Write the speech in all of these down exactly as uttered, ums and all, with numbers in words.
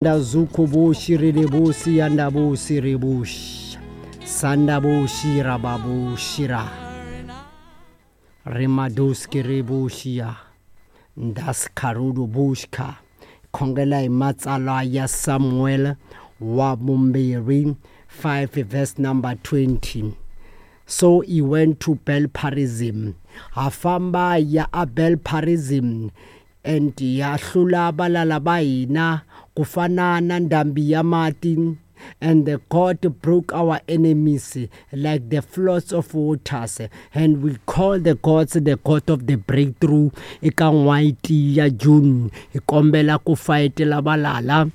Zuko shiriribusi andabusi ribush sandabushi rababushira rimaduski ribushia ndaskarudu bushka khongela hi matsalwa ya Samuel wa vumbirhi five verse number twenty. So he went to Bel-Perazim, ha famba ya a Bel-Perazim and ya hlula valala va hina ku fana na ndhambi ya mati, and the God broke our enemies like the floods of waters, and we call the gods the God of the breakthrough. Eka n'hweti ya June hi kombela ku fayetela valala,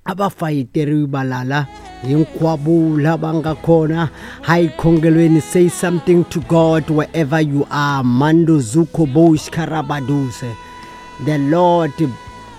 a va fayeteriwi valala hinkwavo lava nga kona. Hi khongelweni, say something to God wherever you are. Mando zuko bosh karabaduse. The Lord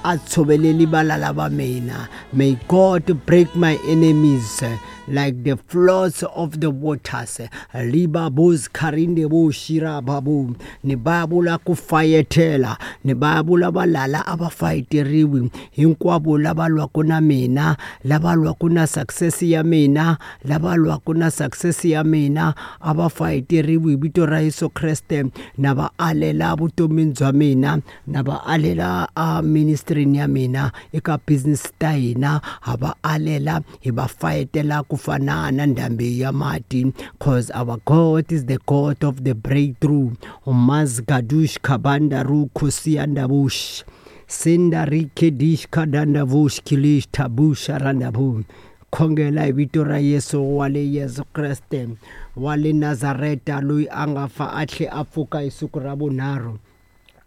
a tshoveleli valala va mina. May God break my enemies like the floods of the waters. Liba bos karinde bo shira babu. Ni babula ku fayetela, ni babula valala a va fayeteriwi hinkwavo lava lwaka na mina, lava lwaka na success ya mina, lava lwaka na success ya mina a va fayeteriwi hi vito ra Yesu Kreste. Na va alela vutomini bya mina, na va alela a ministry ya mina, eka business ta hina ha va alela, hi va fayetela ku fana na ndhambi ya mati, cause our God is the God of the breakthrough. Umazgadush kabanda rukusiandabush sindarikedish kadandavush kilish tabusha randabu. Khongela hi vito ra Yesu wa le Yesu Kreste wa le Nazareta, loyi a nga fa a tlhe a pfuka hi siku ra vunharhu.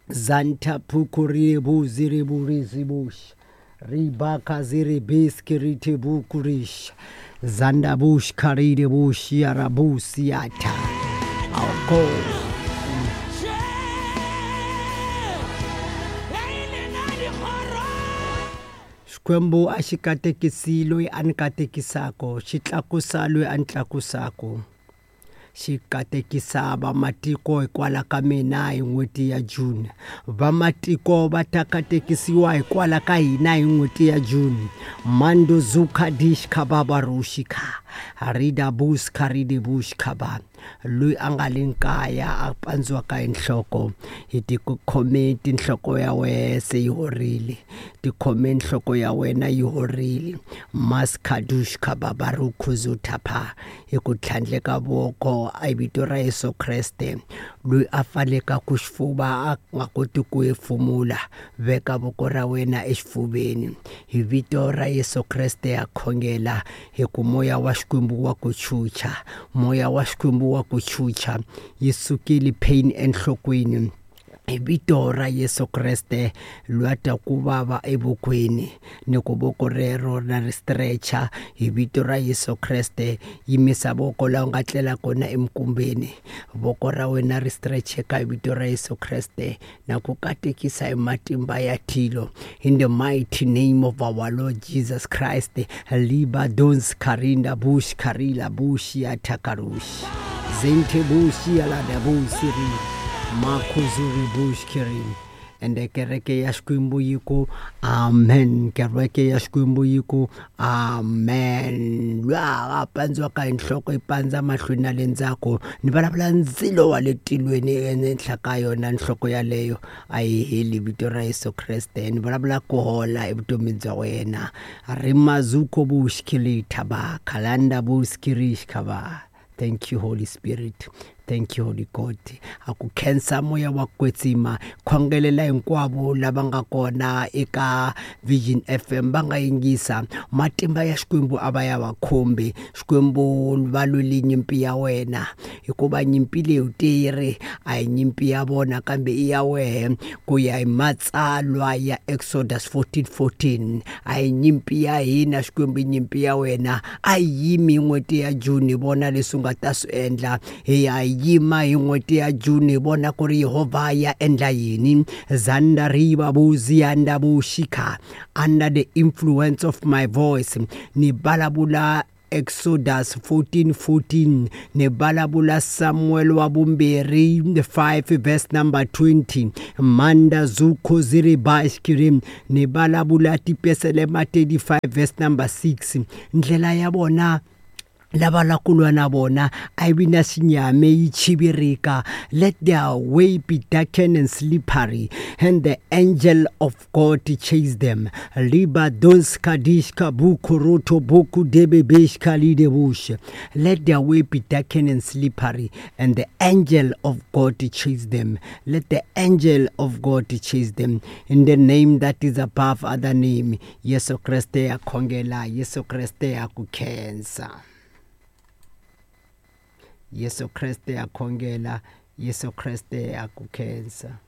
Zanta pukuri ziri burizi bush ribaka ziri biskiriti bukurish zanda bush karide bush yarabusiata. Our God. Xikwembu a xi katekisi loyi a ni katekisaka, xi tlakusa loyi a ni tlakusaka, xi katekisa vamatiko hikwalaho ka mina hi n'hweti ya June. Vamatiko va ta katekisiwa hikwalaho ka hina hi n'hweti ya June. Mando zuka dish khababa rushika rida bus karide bush khaba. Loyi a nga le nkaya a pandziwaka hi nhloko, hi tikhome tinhloko ya wena se yi horile, tikhome nhloko ya wena yi horile. Maskadush khababa rukhuzuthapha hi ku tlhandleka voko a vito ra Yesu Kreste. Loyi a pfaleka ku xifuva a nga koti ku hefemula, veka voko ra wena exifuveni hi vito ra Yesu Kreste. Ya khongela hi ku moya wa Xikwembu wa ku chucha, moya wa Xikwembu wa ku chucha, yi sukile pain enhlokweni hi vito ra Yesu Kreste. Loyi a twa ku vava evokweni ni ku voko rero na ri stretcher hi vito ra Yesu Kreste. Yimisa voko laha u nga tlela kona emikumbeni, voko ra wena ri stretcheka hi vito ra Yesu Kreste, na ku katekisa hi matimba ya tilo in the mighty name of our Lord Jesus Christ. Liba dons karinda bush karila bush ya takarush zente bush ya la da busiri makhuzuri bush kirin. Ende kereke ya Xikwembu yi ku amen, kereke ya Xikwembu yi ku amen. Lwa a pandziwaka hi nhloko yi pandza mahlweni na le ndzhaku, ni vulavula ndzilo wa le tilweni ehenhla ka yona nhloko yaleyo a yi heli, vito ra Yesu Kreste. Ni vulavula ku hola evutomini bya wena. Rimazuko bush kilithaba khalanda bush kirish khaba. Thank you Holy Spirit. Thank you Holy God. A ku khensa moya wa kwetsima. Khongelela hinkwavo lava nga kona eka Vision F M va nga yingisa. Matimba ya Xikwembu a va ya va khumbi. Xikwembu va lweli nyimpi ya wena, hikuva nyimpi leyi u teri a hi nyimpi ya vona kambe i ya wehe, ku ya hi matsalwa ya Exodus fourteen fourteen. A hi nyimpi ya hina Xikwembu, i nyimpi ya wena. A yi yimi n'hweti ya June, vona leswi u nga ta swi endla. Hi ya yima hi n'hweti ya June, vona ku ri Yehovha ya endla yini. Zanda riva buzianda bushika under the influence of my voice, ni vulavula Exodus fourteen fourteen, ni vulavula Samuel wa vumbirhi five verse number twenty, Manda Zuko Ziribashkirim, ni vulavula Tipeselema thirty-five verse number six. Ndlela ya vona lava la ku lwa na vona a yi vi na xinyame yi chivirika. Let their way be darkened and slippery, and the angel of God chase them. Liba donska dishka buku roto buku debe beshka lidebush. Let their way be darkened and slippery, and the angel of God chase them. Let the angel of God chase them. In the name that is above other name, Yesu Kriste ya khongela, Yesu Kriste ya ku khensa. Yesu Kriste ya khongela, Yesu Kriste ya ku khensa.